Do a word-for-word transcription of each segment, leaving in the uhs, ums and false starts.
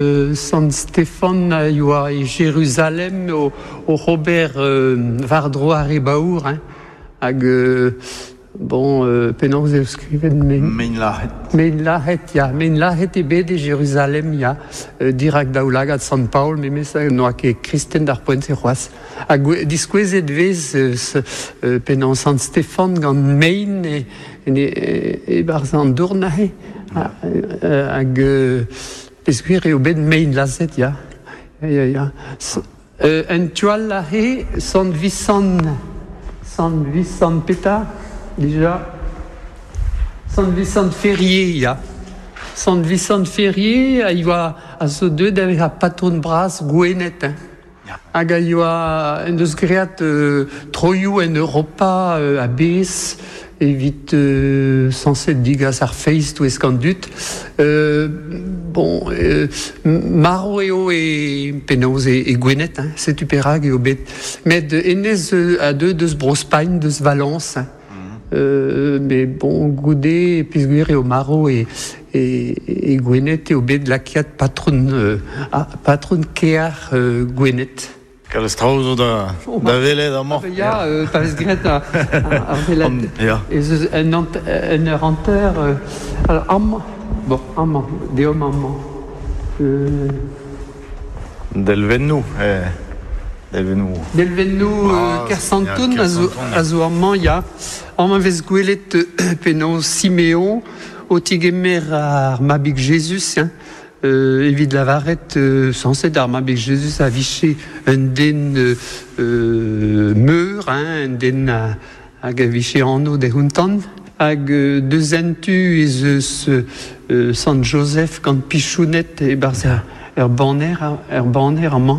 Sant Stefan a yoa e Jeruzalem o, o Robert euh, war-dro ar re baour, hein, hag euh, bon, euh, penaos eo skrivet mein... Mein lahet. Mein lahet, ya. Mein lahet e bet e Jeruzalem, ya. Euh, dirak daoulagad Sant Paol, memes n'oa ket kristen d'ar poent-se c'hoazh. Hag diskouezet vez euh, euh, penaos Sant Stefan gant mein e, e, e, e barz an dourn aze. Hag... Euh, Peogwir eo bet mein lazhet, ya. Ya, ya. Euh, en tu all aze, Sant Visant, Sant Visant petra, dija. Sant Visant Ferrier, ya. Sant Visant Ferrier a yoa a zo deuet da vezañ patron bras Gwened, hein. Hag a yoa en deus graet euh, troioù en Europa euh, a-bezh evit euh, sañset digas ar feiz touesk an dud. Euh, bon, euh, marv eo e penaos e, e Gwened, hein, setu perak eo bet. Met hennezh a deu deus Bro-Spagn, deus Valence, hein. Euh, mais bon, goude peogwir eo marv e, e, e Gwened eo bet lakaet patron, euh, ah, patron kêr euh, Gwened. Kalz traoù zo da, da welet amañ. Ya, euh, pa vez graet ar, ar welet. Ya. Ez eus un, ant, un eur hanter... Euh, alors, amañ, bon, amañ, deomp amañ. Euh, Delvennoù, eh. Delvennoù. Delvennoù euh, Kersanton a zo, a zo amañ, ya. Amañ vez gwelet euh, penaos Simeon o tigemer ar mabig Jezuz, hein. Euh, evit lavaret euh, sañset ar mabig Jezuz a vije un den euh, euh, meur, hein, un den a, hag a vije anv dezhañ. Hag euh, deus un tu ez eus euh, Sant Joseph gant pichouned e-barzh ar, er baner, er baner amañ.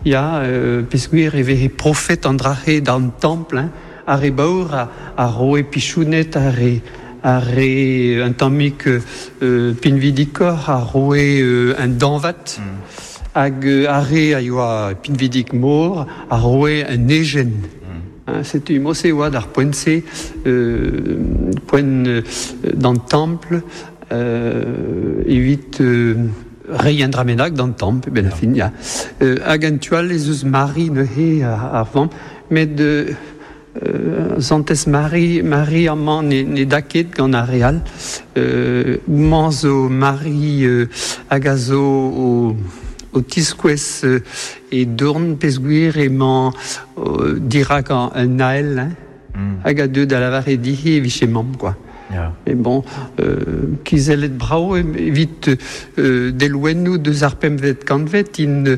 Ya, euh, peogwir e veze profet an dra-se d'an templ, hein, ar re baour a, a roe pichouned ar re ar re un tammig euh, pinvidikoc'h a roe euh, un dañvad. Mm. Hag euh, ar re a yoa pinvidik-mor a roe un ejen. Mm. Hein, setu mod-se oa d'ar poent-se, euh, poent euh, d'an templ, euh, evit euh, reiñ un dra bennak d'an templ, ben ar fin, ya. Euh, hag en tu all ez eus Mari neuze ar vamm, met euh, Euh, Santez Mari, Mari amañ ne, ne da ket gant ar re all. Euh, houmañ zo Mari euh, hag a zo o, o tiskouez euh, he dorn peogwir emañ euh, dirak an, un ael, hein, mm. hag a deu da lavaret dezhi e vije mamm, quoi. Ya. Mais bon, euh, kizellet brav evit euh, delwennoù deus ar pempvet kantved int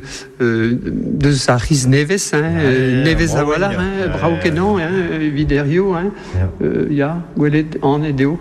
euh, deus ar c'hiz nevez, hein, Ya, euh, ya, nevez brav a-walc'h, int, hein, ya. brav kenañ, hein, evit hiziv, hein. Ya. Euh, ya, gwelet anet eo.